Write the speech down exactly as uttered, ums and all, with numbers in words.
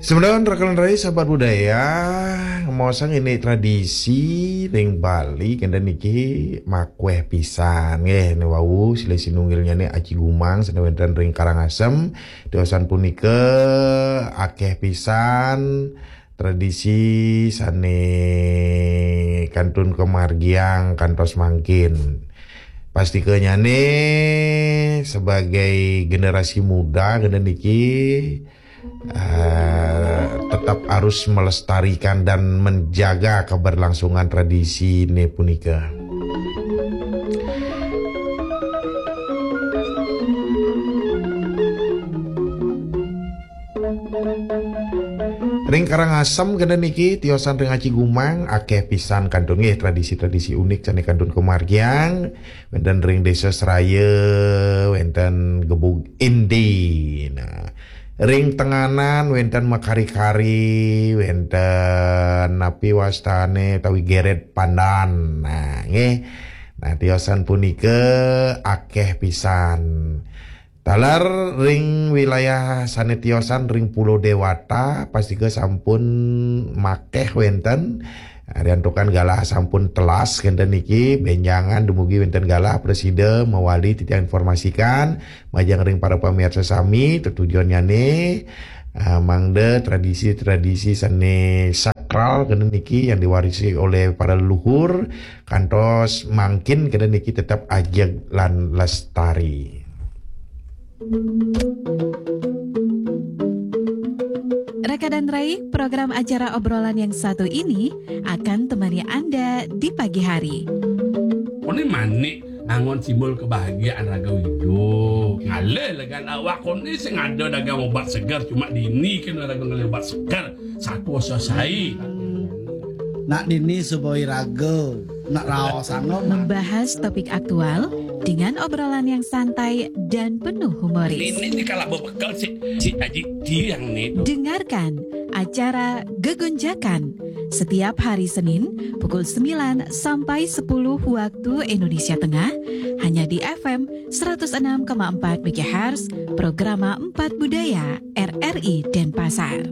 Semeton rekan rai sahabat budaya, ngemaosang indik tradisi ring Bali kenten niki makueh pisan nggih. Niki wau silih sinunggilnyané Aci Gumang sané wénten ring Karangasem. Tiosan punika akéh pisan tradisi sané kantun kamargiang kantos mangkin. Pastikanyané sebagai generasi muda kenten niki eh, tetap harus melestarikan dan menjaga keberlangsungan tradisi ini punika. Ring Karangasem kenten niki tiosan ring Aci Gumang akéh pisan kantun nggih tradisi-tradisi unik sané kantun kamargiang wénten ring Désa Seraya, wénten Gebug Indi. Nah, ring Tenganan wénten Makari-kari, wénten napi wastané tawi Geret Pandan. Nah, nggih. Nah, tiosan punika akéh pisan. Taler ring wilayah sané tiosan ring Pulo Dewata, pastika sampun makéh wénten. Riantukan galah sampun telas kenten niki, bénjangan dumugi wénten galah prasida mawali titiang informasikan majeng ring para pamirsa sami, tetujuannyané eh, mangda tradisi-tradisi sané sakral kenten niki yang diwarisi oleh para leluhur kantos mangkin kenten niki tetap ajeg lan lestari. Raka dan Rai, program acara obrolan yang satu ini akan temani Anda di pagi hari. Koné manik angon simbol kebahagiaan raga hidup. Ngalih legan awak koné sing ada dagang obat seger, cuma dini kena dagang ngalih obat seger. Satu selesai. Nak dini suboi raga, nak raos anggo. Membahas topik aktual dengan obrolan yang santai dan penuh humoris. Ini, ini kalau bebekel si, si Aji Tiang nih. Dengarkan acara Gegunjakan setiap hari Senin pukul sembilan sampai sepuluh waktu Indonesia Tengah, hanya di F M seratus enam koma empat megahertz, Programa Empat Budaya R R I Denpasar.